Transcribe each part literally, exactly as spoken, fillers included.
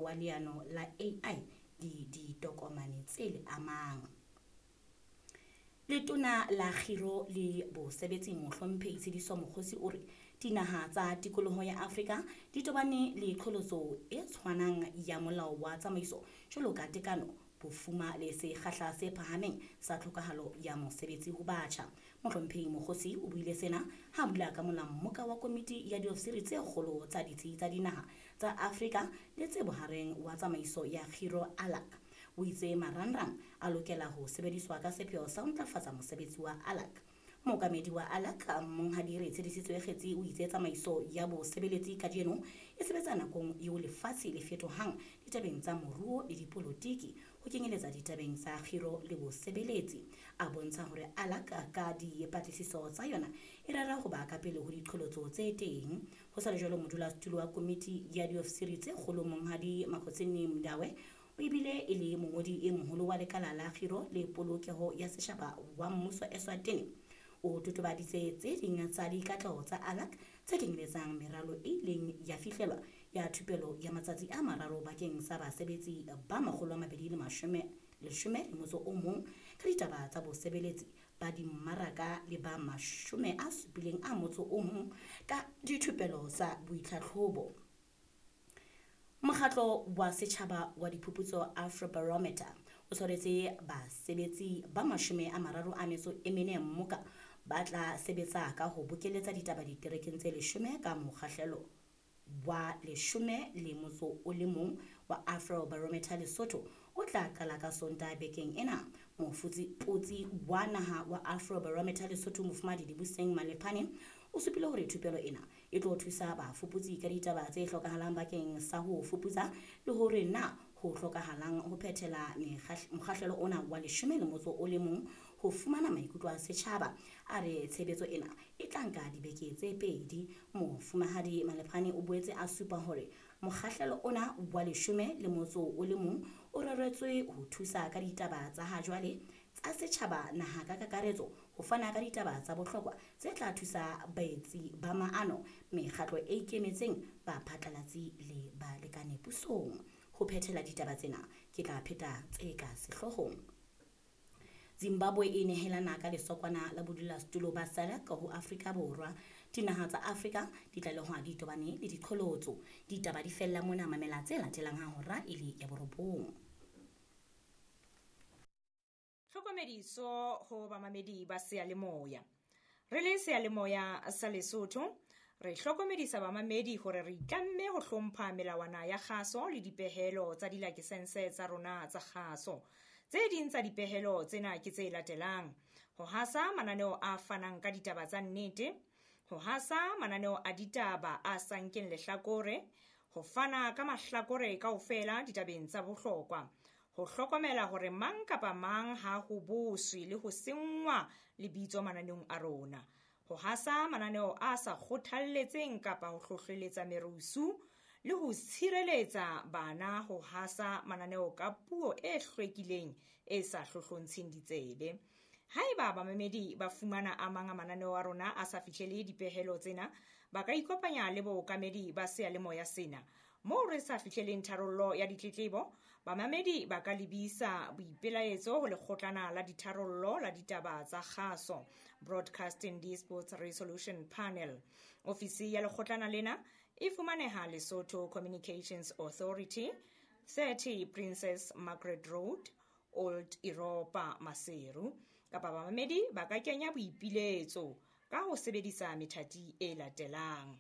wa leano la A I le ditokomane tse le amang. Letona la Kgiro le Bosebetsi Mohlomphehi Tshediso Mokgosi o re dinaha tsa tikoloho ya Afrika di tobane le qholotso e tshwanang ya molao wa tsamaiso jwalo ka tekano, bofuma le sekgahla se phahameng sa tlhokahalo ya mosebetsi ho batjha. Mohlomphehi Mokgosi o buile sena ha a bula ka mola mmoka wa komiti ya diofisiri tse kgolo tsa ditsi tsa dinaha tsa Afrika le tse bohareng wa tsamaiso ya kgiro ALAC. O itse marangrang a lokela ho sebediswa ka sepheo sa ho ntlafatsa mosebetsi wa ALAC. Mookamedi wa ALAC Monghadi Retshedisitswe Kgetsi o itse tsamaiso ya bosebeletsi kajeno e sebetsa nakong eo lefatshe le fetohang ditabeng tsa moruo le dipolotiki ho kenyeletsa ditabeng tsa kgiro le bosebeletsi. A bontsha hore ALAC ka dipatlisiso tsa yona e rera ho ba ka pele ho diqholotso tse teng. Ho sa le jwalo, modulasetulo wa komiti ya diofisiri tse kgolo Monghadi Makhosini Mndawe o ebile e le mongodi e moholo wa lekala la kgiro le polokeho ya setjhaba wa mmuso Eswatini o totobaditse tse ding tsa dikatleho tsa ALAC tse kenyeletsang meralo e ileng ya fihlelwa ya thupelo ya matsatsi a mararo bakeng sa basebetsi ba makgolo a mabedi le mashome leshome le motso o mong ka ditaba tsa bosebeletsi ba dimmaraka le ba mashome a supileng a motso o mong ka dithupelo tsa boitlhatlhobo. Mokgatlo wa setjhaba wa diphuputso Afrobarometer o tshwaretse basebetsi ba mashome a mararo a metso e mene mmoka ba tla sebetsa ka ho bokeletsa ditaba diterekeng tse leshome ka mokgahlelo wa leshome le motso o le mong wa Afrobarometer Lesotho o tla qala ka Sontaha bekeng ena. Mofuputsi wa naha wa Afrobarometer Lesotho Mofumahadi Dibuseng Malephane o supile hore thupelo ena e tlo thusa bafuputsi ka ditaba tse hlokahalang bakeng sa ho fuputsa le hore na ho hlokahalang ho phethela mokgahlelo ona wa leshome le motso o le mong ho fumana maikutlo a setjhaba. A re tshebetso ena e tla nka dibeke tse pedi. Mofumahadi Malephane o boetse a supa hore mokgahlelo ona wa leshome le motso o le mong o reretswe ho thusa ka ditaba tsa ha jwale tsa setjhaba naha ka kakaretso ho fana ka ditaba tsa bohlokwa tse tla thusa baetsi ba maano, mekgatlo e ikemetseng, baphatlalatsi le balekane pusong. Ho phethela ditaba tsena ke tla pheta tse ka sehloohong. Zimbabwe e nehelana ka lesokwana la bodulasetulo ba SADC ho Afrika Borwa. Dinaha tsa Afrika di tlalehwa di tobane le diqholotso. Ditaba di fella mona, mamela tse latelang ha hora e le ya borobong. Tlhokomediso ho bamamedi ba seyalemoya. Re le seyalemoya sa Lesotho, re hlokomedisa bamamedi hore re itlamme ho hlompha melawana ya kgaso le dipehelo tsa dilakesense tsa rona tsa kgaso. Tse ding tsa dipehelo tsena ke tse latelang: ho hasa mananeo a fanang ka ditaba tsa nnete, ho hasa mananeo a ditaba a sa nkeng lehlakore, ho fana ka mahlakore kaofela ditabeng tsa bohlokwa, ho hlokomela hore mang kapa mang ha ho boswe le ho senngwa lebitso mananeong a rona, ho hasa mananeo a sa kgothalletseng kapa ho hlohleletsa merusu, le ho tshireletsa bana ho hasa mananeo ka puo e hlwekileng e sa hlohlontsheng ditsebe. Haeba bamamedi ba fumana a mang a mananeo a rona a sa fihlele dipehelo tsena, ba ka ikopanya le bookamedi ba seyalemoya sena. Moo re sa fihleleng tharollo ya ditletlebo, bamamedi ba ka lebisa boipelaetso ho lekgotlana la ditharollo la ditaba tsa kgaso, Broadcasting Disputes Resolution Panel. Ofisi ya lekgotlana lena e fumaneha Lesotho Communications Authority, thirty Princess Margaret Road, Old Europa, Maseru. Kapa bamamedi ba ka kenya boipiletso ka ho sebedisa methati e latelang: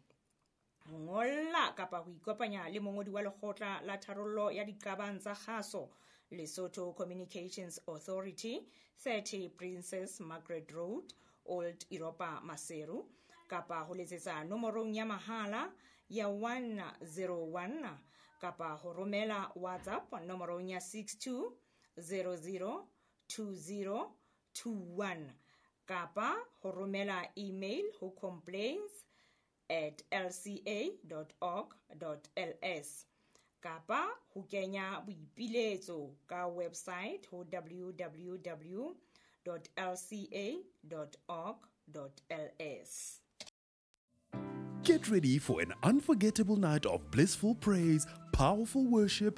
ho ngolla kapa ho ikopanya le mongodi wa lekgotla la tharollo ya diqabang tsa kgaso, Lesotho Communications Authority, thirty Princess Margaret Road, Old Europa, Maseru, kapa ho letsetsa nomorong ya mahala ya one zero one kapa ho romela WhatsApp nomorong ya six two zero zero two zero two one kapa ho romela email ho complaints at l c a dot org dot l s kapa ho kenya boipiletso ka website ho w w w dot l c a dot org dot l s. Get ready for an unforgettable night of blissful praise, powerful worship,